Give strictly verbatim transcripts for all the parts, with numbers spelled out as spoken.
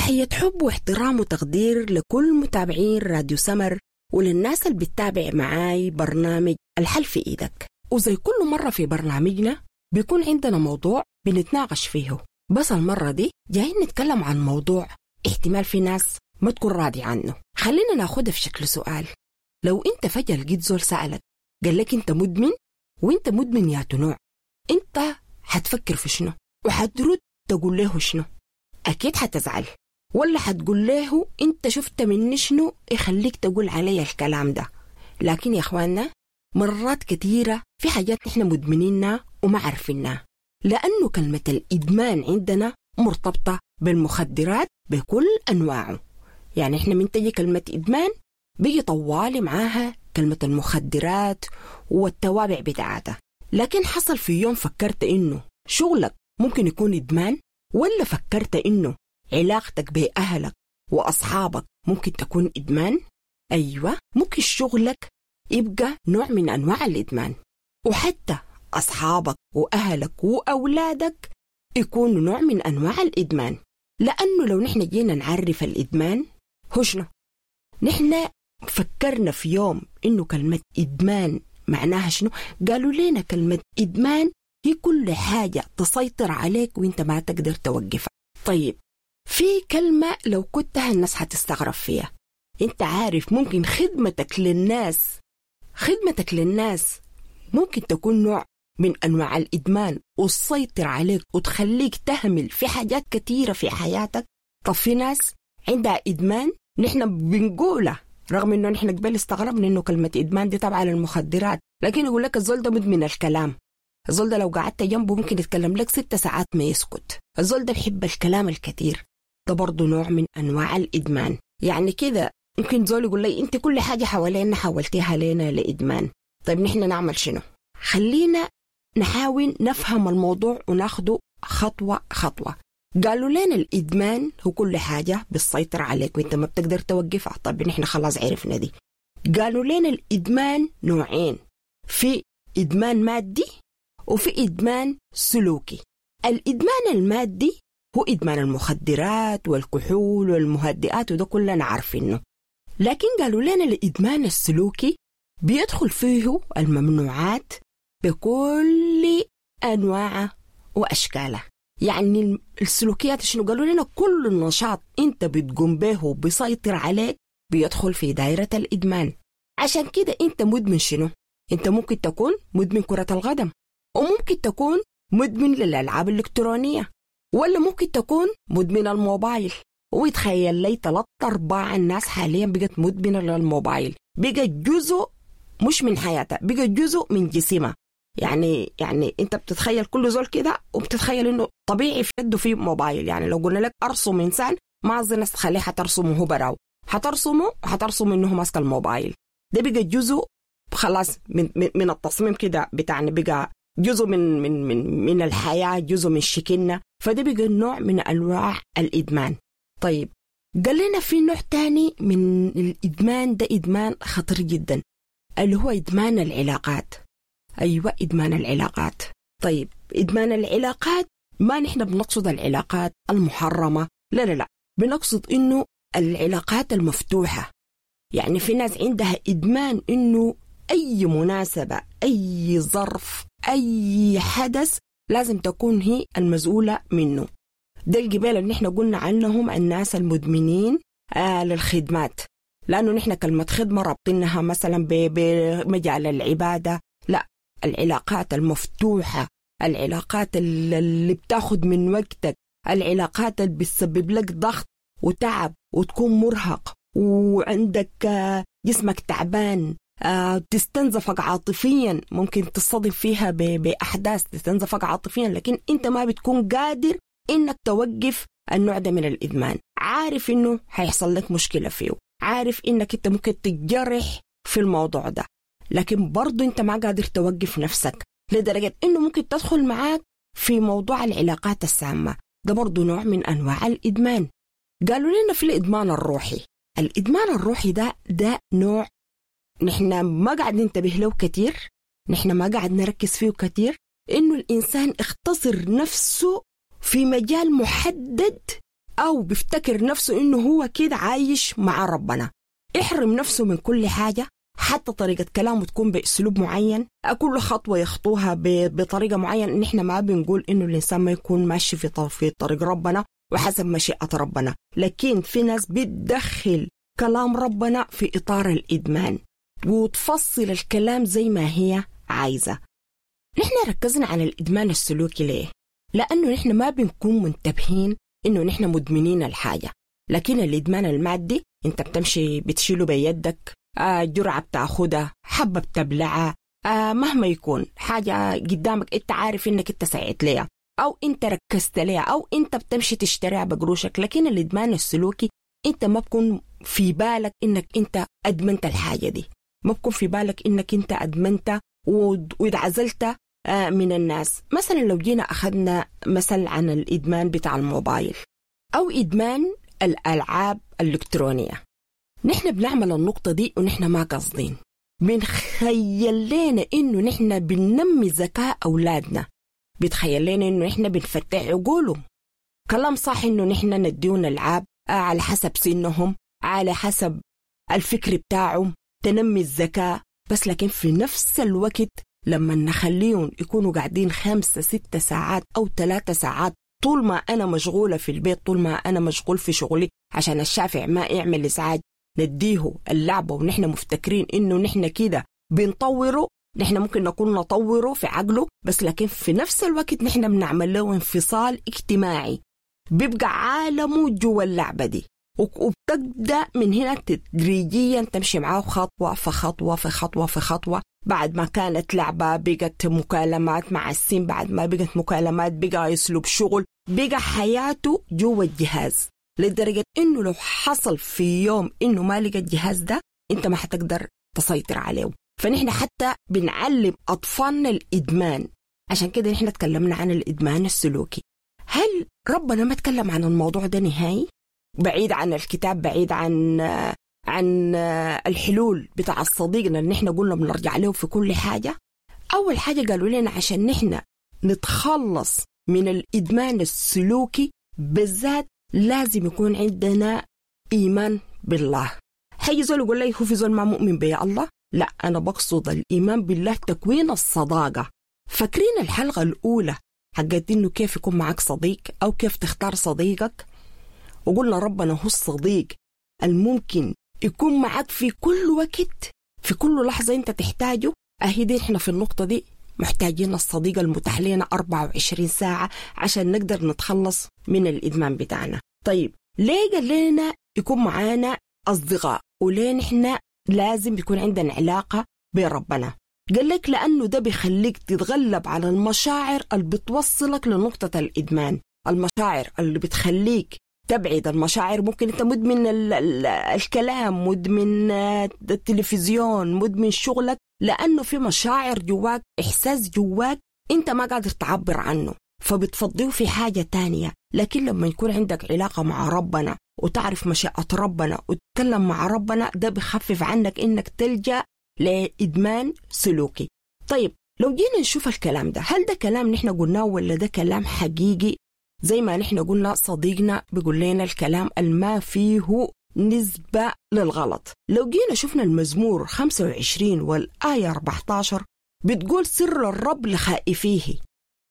تحية حب واحترام وتقدير لكل متابعين راديو سمر وللناس اللي بتتابع معاي برنامج الحل في إيدك. وزي كل مرة في برنامجنا بيكون عندنا موضوع بنتناقش فيه، بس المرة دي جايين نتكلم عن موضوع احتمال في ناس ما تكون راضي عنه. خلينا ناخدها في شكل سؤال. لو انت فجأة لقيت زول سألك قال لك انت مدمن، وانت مدمن يا نوع، انت حتفكر في شنو وحترد تقول له شنو؟ اكيد حتزعل، ولا حتقول له انت شفت مني شنو يخليك تقول علي الكلام ده. لكن يا اخواننا مرات كثيرة في حاجات نحن مدمنينها وما عارفينها، لأنه كلمة الإدمان عندنا مرتبطة بالمخدرات بكل أنواعه. يعني إحنا من تجي كلمة إدمان بيجي طوالي معاها كلمة المخدرات والتوابع بتاعتها. لكن حصل في يوم فكرت إنه شغلك ممكن يكون إدمان؟ ولا فكرت إنه علاقتك بأهلك وأصحابك ممكن تكون إدمان؟ أيوة، ممكن شغلك يبقى نوع من أنواع الإدمان، وحتى أصحابك وأهلك وأولادك يكونوا نوع من أنواع الإدمان. لأنه لو نحن جينا نعرف الإدمان هو شنو؟ نحن فكرنا في يوم إنه كلمة إدمان معناها شنو؟ قالوا لنا كلمة إدمان هي كل حاجة تسيطر عليك وإنت ما تقدر توقفها. طيب في كلمة لو كنتها الناس حتستغرب فيها، إنت عارف ممكن خدمتك للناس خدمتك للناس ممكن تكون نوع من أنواع الإدمان وتسيطر عليك وتخليك تهمل في حاجات كثيرة في حياتك. طب في ناس عندها إدمان نحن بنقوله، رغم إنه نحن قبل استغربنا إنه كلمة إدمان دي تبع للمخدرات، لكن يقول لك الزول ده مدمن الكلام، الزول ده لو قعدت جنبه ممكن يتكلم لك ست ساعات ما يسكت، الزول ده بحب الكلام الكثير، ده برضه نوع من أنواع الإدمان. يعني كده ممكن زول يقول لي أنت كل حاجة حوالينا حولتيها لنا لإدمان. طيب نحن نعمل شنو؟ خلينا نحاول نفهم الموضوع وناخده خطوة خطوة. قالوا لنا الإدمان هو كل حاجة بتسيطر عليك وانت ما بتقدر توقفها. طب نحن خلاص عرفنا دي. قالوا لنا الإدمان نوعين، في إدمان مادي وفي إدمان سلوكي. الإدمان المادي هو إدمان المخدرات والكحول والمهدئات، وده كلنا عارفينه. لكن قالوا لنا الإدمان السلوكي بيدخل فيه الممنوعات بكل أنواعه وأشكاله. يعني السلوكيات شنو؟ قالوا لنا كل النشاط أنت بتقوم به وبيسيطر عليك بيدخل في دائرة الإدمان. عشان كده أنت مدمن شنو؟ أنت ممكن تكون مدمن كرة القدم، وممكن تكون مدمن للألعاب الإلكترونية، ولا ممكن تكون مدمن الموبايل. ويتخيل لي ثلاث أرباع الناس حاليا بقت مدمنة للموبايل، بقت جزء مش من حياتها، بقت جزء من جسمها. يعني يعني انت بتتخيل كل زول كده وبتتخيل انه طبيعي في يده في موبايل. يعني لو قلنا لك ارسم انسان ما اظن الناس تخليه حترسمه هو براو، حترسمه حترسم انه ماسك الموبايل. ده بقى جزء خلاص من من التصميم كده بتاعنا، بقى جزء من من من من الحياه، جزء من شكلنا. فده بقى نوع من انواع الادمان. طيب قال لنا في نوع تاني من الادمان، ده ادمان خطير جدا اللي هو ادمان العلاقات. أيوة إدمان العلاقات. طيب إدمان العلاقات ما نحن بنقصد العلاقات المحرمة، لا لا لا، بنقصد إنه العلاقات المفتوحة. يعني في ناس عندها إدمان إنه أي مناسبة، أي ظرف، أي حدث لازم تكون هي المسؤولة منه. ده الجبال اللي نحن قلنا عنهم الناس المدمنين آه للخدمات، لأنه نحن كلمة خدمة رابطينها مثلا بمجال العبادة. لا، العلاقات المفتوحة، العلاقات اللي بتاخد من وقتك، العلاقات اللي بتسبب لك ضغط وتعب وتكون مرهق وعندك جسمك تعبان، تستنزفك عاطفيا، ممكن تصطدم فيها بأحداث تستنزفك عاطفيا، لكن انت ما بتكون قادر انك توقف النوع ده من الإدمان. عارف انه هيحصل لك مشكلة فيه، عارف انك انت ممكن تتجرح في الموضوع ده، لكن برضو انت ما قادر توقف نفسك لدرجة انه ممكن تدخل معاك في موضوع العلاقات السامة. ده برضو نوع من انواع الادمان. قالوا لنا في الادمان الروحي. الادمان الروحي ده ده نوع نحن ما قاعد ننتبه له كتير، نحن ما قاعد نركز فيه كتير، انه الانسان اختصر نفسه في مجال محدد أو بيفتكر نفسه إنه هو كده عايش مع ربنا، يحرم نفسه من كل حاجة، حتى طريقة كلامه تكون بأسلوب معين، كل خطوة يخطوها بطريقة معينة. نحن ما بنقول إنه الإنسان ما يكون ماشي في طريق ربنا وحسب مشيئة ربنا، لكن في ناس بتدخل كلام ربنا في إطار الإدمان وتفصل الكلام زي ما هي عايزة. نحن ركزنا على الإدمان السلوكي ليه؟ لأنه نحن ما بنكون منتبهين إنه نحن مدمنين الحاجة. لكن الإدمان المادي أنت بتمشي بتشيله بيدك، آه جرعة بتاخدها، حبة بتبلعها، آه مهما يكون حاجة قدامك أنت عارف إنك أنت سعيت ليها أو أنت ركزت ليها أو أنت بتمشي تشتريها بقروشك. لكن الإدمان السلوكي أنت ما بكون في بالك إنك أنت أدمنت الحاجة دي، ما بكون في بالك إنك أنت أدمنت واتعزلت من الناس. مثلا لو جينا أخذنا مثل عن الإدمان بتاع الموبايل أو إدمان الألعاب الإلكترونية، نحن بنعمل النقطة دي ونحن ما قصدين، بنخيل لنا إنه نحن بننمي ذكاء أولادنا، بتخيل لنا إنه نحن بنفتح عقولهم. كلام صح إنه نحن نديهم ألعاب على حسب سنهم، على حسب الفكر بتاعهم، تنمي الذكاء، بس لكن في نفس الوقت لما نخليهم يكونوا قاعدين خمسة ستة ساعات أو ثلاثة ساعات، طول ما أنا مشغولة في البيت، طول ما أنا مشغول في شغلي، عشان الشافع ما يعمل إزعاج، نديه اللعبة ونحن مفتكرين إنه نحن كده بنطوره. نحن ممكن نكون نطوره في عقله، بس لكن في نفس الوقت نحن بنعمل له انفصال اجتماعي، بيبقى عالمه جوا اللعبة دي، وبتبدأ من هنا تدريجيا تمشي معاه خطوة في خطوة في خطوة في خطوة. بعد ما كانت لعبة بقت مكالمات مع السين، بعد ما بقت مكالمات بقى أسلوب شغل، بقى حياته جوا الجهاز، لدرجة إنه لو حصل في يوم إنه ما لقى الجهاز ده أنت ما حتقدر تسيطر عليه. فنحن حتى بنعلم أطفالنا الإدمان. عشان كده نحن تكلمنا عن الإدمان السلوكي. هل ربنا ما تكلم عن الموضوع ده نهائي؟ بعيد عن الكتاب، بعيد عن عن الحلول بتاع الصديقنا اللي نحن قلنا بنرجع له في كل حاجة. أول حاجة قالوا لنا عشان نحن نتخلص من الإدمان السلوكي بالذات لازم يكون عندنا إيمان بالله. حي زول يقول لي هو في زول ما مؤمن بيا الله؟ لا، أنا بقصد الإيمان بالله تكوين الصداقة. فاكرين الحلقة الأولى حقت إنه كيف يكون معك صديق أو كيف تختار صديقك؟ وقلنا ربنا هو الصديق الممكن يكون معك في كل وقت، في كل لحظة أنت تحتاجه. أهي دي إحنا في النقطة دي محتاجين الصديق المتاح لنا أربعة وعشرين ساعة عشان نقدر نتخلص من الإدمان بتاعنا. طيب ليه قال لنا يكون معانا أصدقاء وليه نحن لازم يكون عندنا علاقة بربنا؟ قال لك لأنه ده بيخليك تتغلب على المشاعر اللي بتوصلك لنقطة الإدمان، المشاعر اللي بتخليك تبعد المشاعر. ممكن أنت مدمن ال ال الكلام، مدمن التلفزيون، مدمن شغلك، لأنه في مشاعر جواك، إحساس جواك أنت ما قادر تعبر عنه، فبتفضيه في حاجة تانية. لكن لما يكون عندك علاقة مع ربنا وتعرف مشيئة ربنا وتتكلم مع ربنا، ده بخفف عنك إنك تلجأ لإدمان سلوكي. طيب لو جينا نشوف الكلام ده، هل ده كلام نحن قلناه ولا ده كلام حقيقي؟ زي ما نحن قلنا صديقنا بيقول لنا الكلام الما فيه نسبة للغلط. لو جينا شفنا المزمور خمسة وعشرين والآية أربعة عشر بتقول سر الرب لخائفيه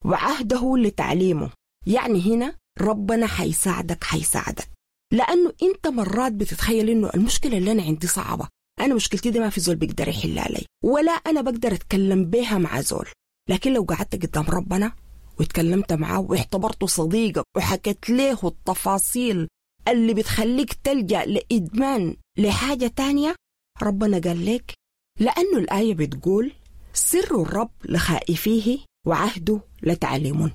وعهده لتعليمه. يعني هنا ربنا حيساعدك حيساعدك، لأنه أنت مرات بتتخيل إنه المشكلة اللي أنا عندي صعبة، أنا مشكلتي دي ما في زول بيقدر يحلها لي، ولا أنا بقدر أتكلم بيها مع زول. لكن لو قعدت قدام ربنا واتكلمت معاه واعتبرته صديقك وحكيت له التفاصيل اللي بتخليك تلجأ لإدمان لحاجة تانية، ربنا قال لك، لأنه الآية بتقول سر الرب لخائفيه وعهده لتعلمون.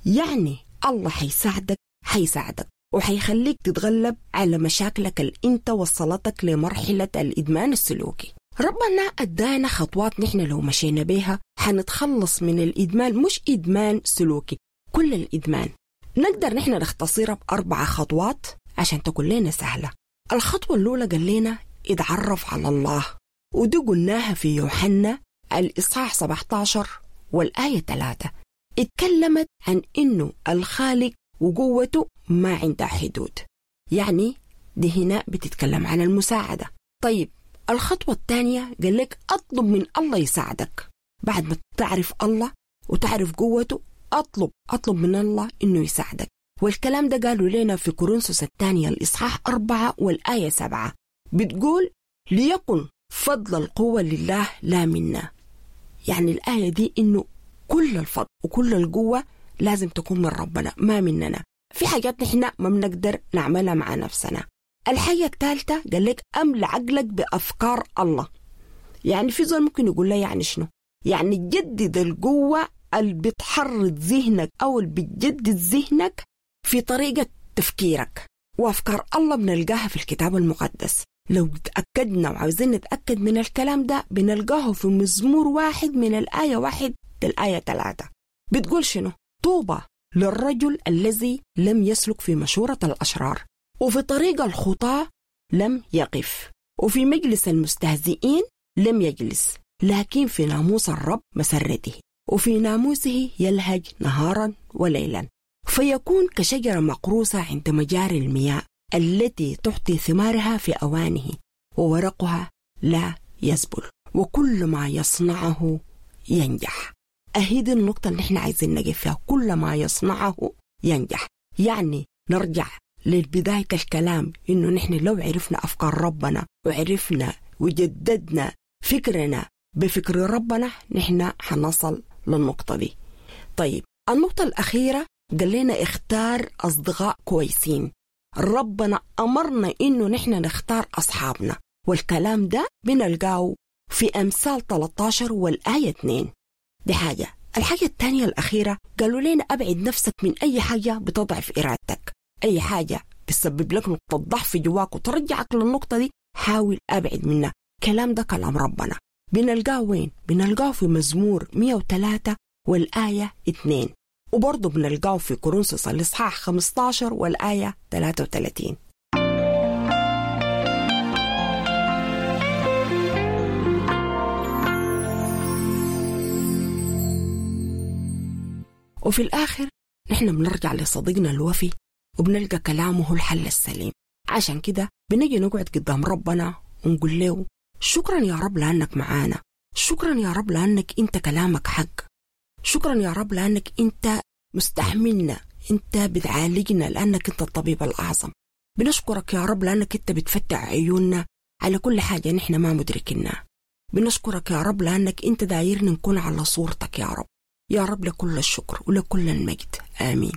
يعني الله حيساعدك حيساعدك وحيخليك تتغلب على مشاكلك اللي انت وصلتك لمرحلة الإدمان السلوكي. ربنا أدانا خطوات نحن لو مشينا بيها حنتخلص من الإدمان، مش إدمان سلوكي، كل الإدمان نقدر نحن نختصرها بأربع خطوات عشان تكون لنا سهلة. الخطوة الأولى قال لنا اتعرف على الله، ودي قلناها في يوحنا الإصحاح سبعة عشر والآية ثلاثة. اتكلمت عن إنه الخالق وقوته ما عندها حدود. يعني دي هنا بتتكلم عن المساعدة. طيب الخطوة الثانية قال لك أطلب من الله يساعدك. بعد ما تعرف الله وتعرف قوته أطلب أطلب من الله إنه يساعدك. والكلام ده قالوا لنا في كورنثوس الثانية الإصحاح أربعة والآية سبعة، بتقول ليكن فضل القوة لله لا منا. يعني الآية دي إنه كل الفضل وكل القوة لازم تكون من ربنا ما مننا. في حاجات نحن ما بنقدر نعملها مع نفسنا. الحاجة الثالثة قال لك أملأ عقلك بأفكار الله. يعني في زول ممكن يقول لي يعني شنو؟ يعني جدد القوة اللي بتحرض ذهنك أو اللي بتجدد ذهنك في طريقة تفكيرك. وأفكار الله بنلقاها في الكتاب المقدس. لو تأكدنا وعاوزين نتأكد من الكلام ده بنلقاه في مزمور واحد من الآية واحد للآية ثلاثة. بتقول شنو؟ طوبى للرجل الذي لم يسلك في مشورة الأشرار، وفي طريق الخطاة لم يقف، وفي مجلس المستهزئين لم يجلس، لكن في ناموس الرب مسرته، وفي ناموسه يلهج نهارا وليلا، فيكون كشجرة مقروسة عند مجاري المياه التي تعطي ثمارها في أوانه، وورقها لا يزبل، وكل ما يصنعه ينجح. أهي دي النقطة اللي احنا عايزين نجي فيها، كل ما يصنعه ينجح. يعني نرجع للبداية الكلام إنه نحن لو عرفنا أفكار ربنا وعرفنا وجددنا فكرنا بفكر ربنا نحن حنصل للنقطة دي. طيب النقطة الأخيرة قال لنا اختار أصدقاء كويسين. ربنا أمرنا إنه نحن نختار أصحابنا، والكلام ده بنلقاه في أمثال ثلاثة عشر والآية اثنين. دي حاجة. الحاجة الثانية الأخيرة قالوا لنا أبعد نفسك من أي حاجة بتضعف إرادتك، أي حاجة بتسبب لك نقطة ضعف جواك وترجعك للنقطة دي حاول أبعد منها. كلام ده كلام ربنا. بنلقاه وين؟ بنلقاه في مزمور مئة وثلاثة والآية اثنين، وبرضه بنلقاه في كورنثوس الإصحاح خمسة عشر والآية ثلاثة وثلاثين. وفي الآخر نحن بنرجع لصديقنا الوفي وبنلقى كلامه الحل السليم. عشان كده بنجي نقعد قدام ربنا ونقول له شكرا يا رب لأنك معانا، شكرا يا رب لأنك أنت كلامك حق، شكرا يا رب لأنك أنت مستحملنا، أنت بتعالجنا لأنك أنت الطبيب الأعظم. بنشكرك يا رب لأنك أنت بتفتح عيوننا على كل حاجة نحن ما مدركينها. بنشكرك يا رب لأنك أنت دايرنا نكون على صورتك يا رب. يا رب لكل الشكر ولكل المجد، آمين.